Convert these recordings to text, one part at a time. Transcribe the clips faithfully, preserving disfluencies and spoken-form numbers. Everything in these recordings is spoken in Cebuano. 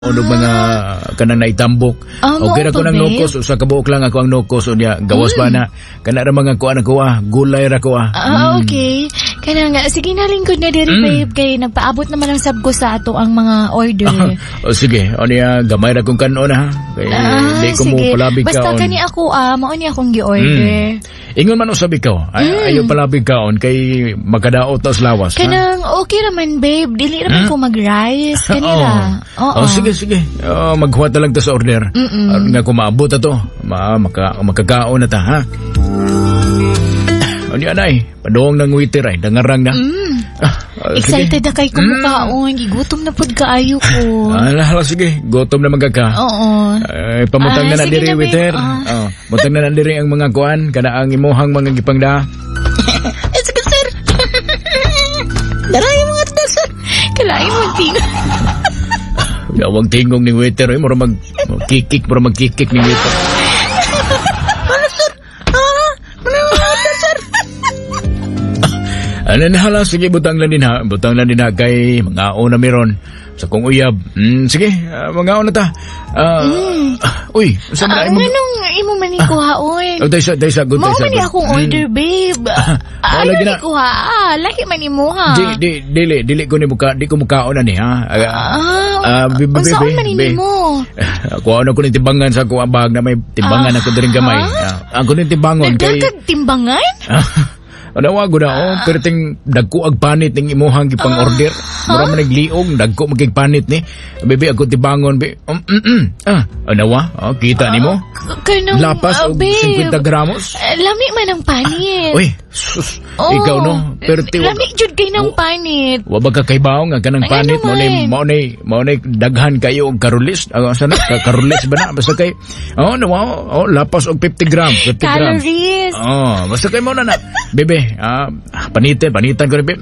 Og mga kanang naitambok. Ah, mao Okay ra pa, ko nang babe. nokos, usa ka buok lang ako ang nokos unya gawas pa na kana ra mga kuan ako ah, gulay ra ko ah. Ah, okay. Kana nga, sige na, lingkod na diri, Mm. babe, kay nagpaabot naman ang sab ko sa ato ang mga order. O sige, o niya gamay ra kong kanon ha. Kay Ah, di ko mo sige. palabig Basta kaon. kani ako ah, mao ni akong gi-order. Mm. Ingon man usab ikaw, ay, Mm. ayaw palabig kaon kay makadaot ta sa lawas. ha? Kanang okay raman, babe, dili raman ko mag-rice kanila. Oo. Oh, sige, sige. Oh, maghuwat na lang ta sa order. Mm-mm. Aron nga kung maabot ta to, ma maka, makakaon na ta, ha? O niya nay, padong ng waiter ay, dangarang na. Mm. Ah, ah, sige. Excited na kay kumukaon, gigutom na pud kaayo ko. Ah, hala, sige, gutom na magka. Oo. Ay, pamutang Ah, na na sige diri, na, babe. waiter. Ah. Oh, mutang na na diri ang mga kuan, kana ang imuhang mga gipangda. Eh, sige, sir. Dara yung mga order, sir. Kalain mo tingog. Yawang tingong ni waiter, ay, mura mag kikik, mura magkikik ni waiter. Ano, sir? Ah, ano yung mga order, sir? Ano na hala, sige, butang lang din ha. Butang lang din ha, kay mga na meron. Sa kong uyab. Mm, sige, uh, mga na ta. Ah, ah, uy, sa Ah, man imong nganong imo man ni kuhaon? Oh, daysa, daysa, good, Mao daysa. man ni good. akong Mm. order, babe. Mao Ayaw lagi ni na. kuha. Ah, laki man imo ha. Di, di, dili, dili ko ni muka, di ko mukaon na ni ha. Ah, Ah, ah, be, be, unsaon be, man ni be. nimo? Kuha na ko ni timbangan sa akong bag na may timbangan Ah, ako diring gamay. ha? Ah, ako ni timbangon kay Nagdakag timbangan? Ano wa gud oh, perting dagko ag panit ning imuhang gipang order. Mura man nagliog, dagko magig panit ni. Bebe ako tibangon be. Um, mm, mm. Ah, ano wa? Oh, kita nimo. K- Kanang, Lapas ah, og babe. fifty gramos. Ah, lami man ang panit. Uy, sus, Oh, ikaw no, perti wa- Lami jud kay ng panit. Wa ba ka kaybaw nga kanang Ay, panit ano mao ni man? mao ni mao ni daghan kayo og karulis. Ah, asa na Ka- karulis ba na basta kay oh no oh, lapas og fifty grams, fifty grams. Calories. Oh, basta kay mo na na. Bebe, ah, panite, panitan ko rin, be.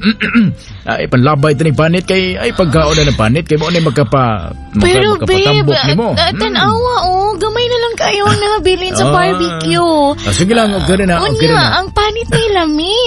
Ay, panlabay ito ni panit kay, ay, pagkaon na ng panit, kay mo na makapa, maka, Pero babe, makapatambok nimo. ah, Mm. tanawa oh, gamay na lang kayo nabilin sa Ah. barbecue. Ah, sige lang, okay rin na, okay rin Unya, na. ang panit ni lami.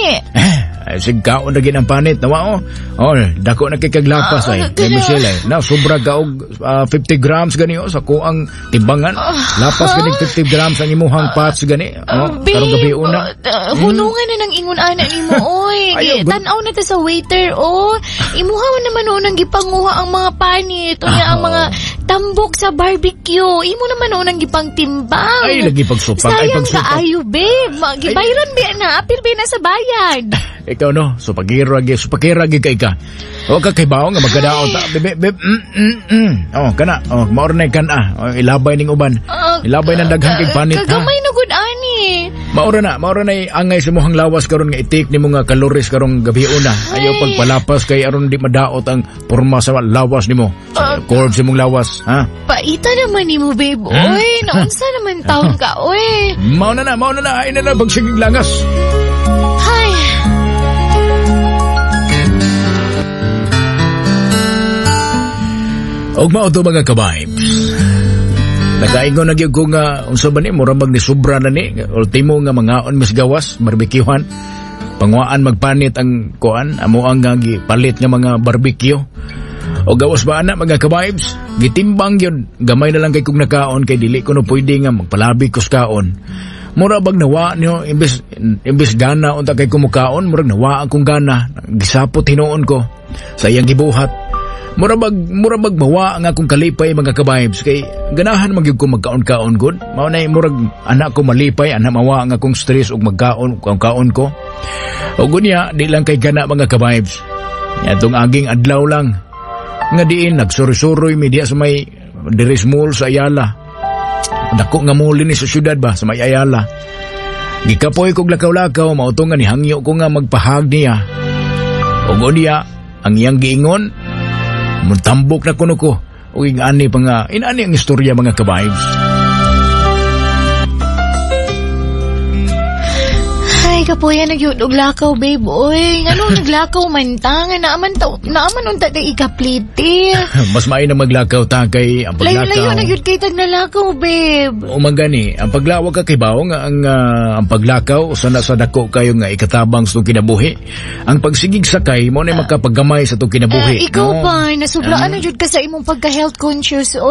Ay, sige, kaon na gid ang panit. Nawa, oh. Oh, dako na kay kaglapas Ah, ay. ganun. Kay Michelle ay. Na, sobra ka og ah, fifty grams gani oh, sa kuang timbangan. Lapas gani fifty grams ang imuhang pots gani. Ah, Oh, karong gabi una. uh, hunungan na ng ingon ana nimo oy. Ayaw, Gi- good. Tan-aw na ta sa waiter oh. Imuha man naman oh nang gipanguha ang mga panit, unya ang mga tambok sa barbecue. Imo naman oh nang gipangtimbang. Ay, lagi pagsupak, ay Sayang pagsupak. kaayo, babe. Ma- Gibayran biya na, apil biya na sa bayad. Ikaw no, supagiro agi, supakira agi kay ka. O ka kay bawo nga magkadaot ta. Bebe, bebe, mm, mm, mm. Oh, kana. Oh, maornay kan ah. Oh, ilabay ning uban. Ah, Ilabay ng daghan kay panit ha. Kagamay na gud ani. Maura na, maura na angay sa muhang lawas karon nga itik nimo nga calories karong gabi una. Ayaw Ay. pagpalapas kay aron di madaot ang porma sa lawas nimo. Ah. Sa curve sa imong lawas, ha? Paita naman nimo, babe. Hmm? Oy, naunsa naman taon ka, oy. Mao na na, mao na na, ay na na pagsigig langas. Hay. Og mao to mga ka-vibes. Nakaingon na gyud ko nga unsa ba ni mura mag ni sobra na ni ultimo nga mangaon mis gawas barbecuehan. Panguaan magpanit ang kuan amo ang nga gipalit nga mga barbecue. O gawas ba ana mga ka-vibes? Gitimbang gyud gamay na lang kay kung nakaon kay dili ko no pwede nga magpalabi ko sa kaon. Mura bag nawa niyo imbes imbes gana unta kay kumukaon murag nawa akong gana gisapot hinuon ko sa iyang gibuhat. Mura bag mura bag mawa ang akong kalipay mga ka-vibes kay ganahan man gyud ko magkaon-kaon gud. Mao nay murag anak ko malipay ana mawa ang akong stress ug magkaon kaon ko. Og unya di lang kay gana mga ka-vibes. Atong aging adlaw lang nga diin nagsuroy-suroy mi diha sa may Deres Mall sa Ayala. Dako nga mall ni sa syudad ba sa may Ayala. Gikapoy kog lakaw-lakaw mao to nga nihangyo ko nga magpahag niya. Ug unya ang iyang giingon mutambok na kuno ko. O ingani pa nga, inani ang istorya mga ka-vibes. Ay, Ay, kapoya na gyud og lakaw, babe. Oy, ngano naglakaw man ta? Nga naaman ta, naaman unta tay ikaplite. Mas maayo na maglakaw ta kay ang paglakaw. Layo-layo na gyud kay tag nalakaw, babe. O man gani, ang paglawag ka kibaw nga ang ah, ang paglakaw usa na sa dako kayo nga ikatabang sa itong kinabuhi. Ang pagsigig sakay mo na makapaggamay sa itong kinabuhi. Ah, ikaw no? pa, nasubraan na jud ka sa imong pagka-health conscious.